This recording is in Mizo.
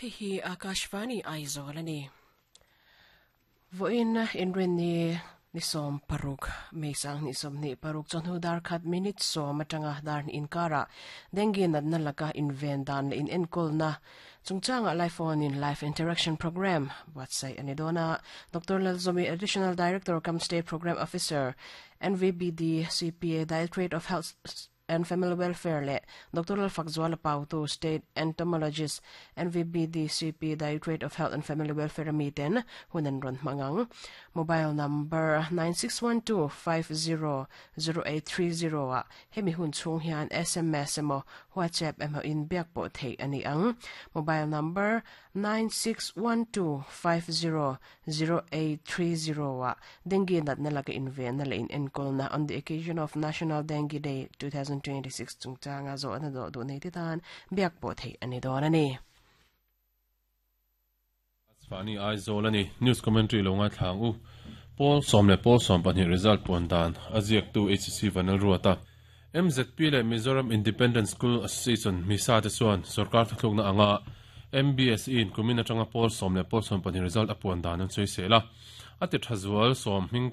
Hei hi Akashvani Aizawl a ni. Vawiin inrinni ni 16 May 2026 chawhnu dar khat minute sawm atanga dar hnih inkarah Dengue natna laka inven dan leh inenkawlna chungchangah live phone in live interaction programme buatsaih a ni dawn a. Doctor Lalzawmi, Additional Director cum State Programme Officer, NVBD, CPA, Directorate of Health and Family Welfare leh Doctor Lalfakzuala Pautu, State Entomologist, NVBDCP, Directorate of Health and Family Welfare a miten hun an rawn hmang ang. Mobile number 9612500830 ah hemi hun chhung hian sms emaw WhatsApp emaw in biak pawh theih a ni ang. Mobile number 961250 0830 ah Dengue natna laka invenna leh inenkawlna on the occasion of National Dengue Day 2026 chungchanga zawhna dawh duh nei te tan biak pawh theih a ni dawn a ni. Fani Aizawl a ni. News commentary lo ngaithla ang u. Pawl sawm leh pawl 12 result puan dan a ziaktu HC Vanlalruata. MZP leh Mizoram Independent School Association, MISA, te chuan sorkar thuthlukna anga MBSE in kumin atanga pawl sawm leh pawl 12 result a puan dan an sawisel a. A ti tha zual sawm hming.